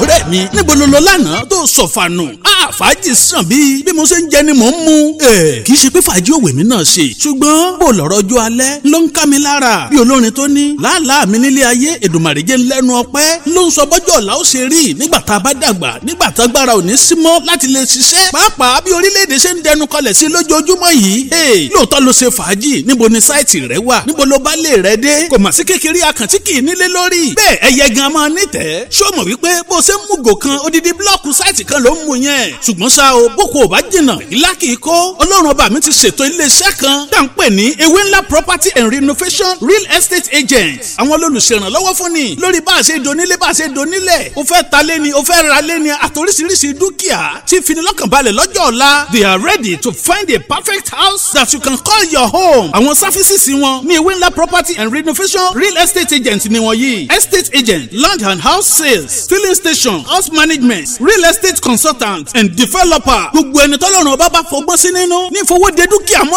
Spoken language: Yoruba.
Ọ̀rẹ́ mi, níbo ló lọ lánàá tó sọ̀fànù? Fàájì sàn bíi bí mo ṣe ń jẹ ni mò ń mu. Kì í ṣe pé fàájì òwe mi náà ṣe, ṣùgbọ́n bó lọ̀rọ̀ ọjọ́ alẹ́ ló ń ká mi lára. Bí olórin tó ní làálàá mi nílé ayé, Èdùmàrè jẹ́ lẹ́nu ọpẹ́ ló ń sọ bọ́jọ́ ọ̀la ó ṣe rí nígbà tá a bá dàgbà, nígbà tá agbára ò ní sí mọ́ láti lè ṣiṣẹ́. Pàápàá bí orílẹ̀-èdè ṣe ń dẹnu kọlẹ̀ sí lójoojúmọ́ yìí. Lóòótọ́ ló ṣe fàájì, níbo ni sáìtì rẹ wà, níbo ló bá lè rẹ dé? Kò mà sí kékeré akàntí kì í nílé lórí. Bẹ́ẹ̀ ẹyẹ gan máa nítẹ̀ẹ́. Ṣó mọ̀ wípé bó ṣe ń mú gò kan odidi blọ́ọ̀kù sáìtì kan ló ń mú yẹn? Ṣùgbọ́n ṣá o, boko ò bá jìnnà, ìlà kì í kó. Ọlọ́run ọba mi ti ṣètò iléeṣẹ́ kan tá à ń pè ní Ewé Ńlá Property and Renovation Real Estate Agent. Àwọn olùṣèrànlọ́wọ́ fún ni lórí bá a ṣe donílé, bá a ṣe donílẹ̀. O fẹ́ ta lé ni, o fẹ́ ra lé ni, àtòríṣiríṣi dúkìá tí finilọ́kànbalẹ̀ lọ́jọ́ ọ̀la. They are ready to find a perfect house that you can call your home. Àwọn services wọn ní Ewé Ńlá Property and Renovation Real Estate Agent ni wọ́n yìí: estate agent, land and house sales, filling station, house management, real estate consultant and developer. Gbogbo ẹni tọ́lọ́run ọba bá fọgbọ́n sí nínú ní ìfowóde dúkìá mọ́lẹ̀.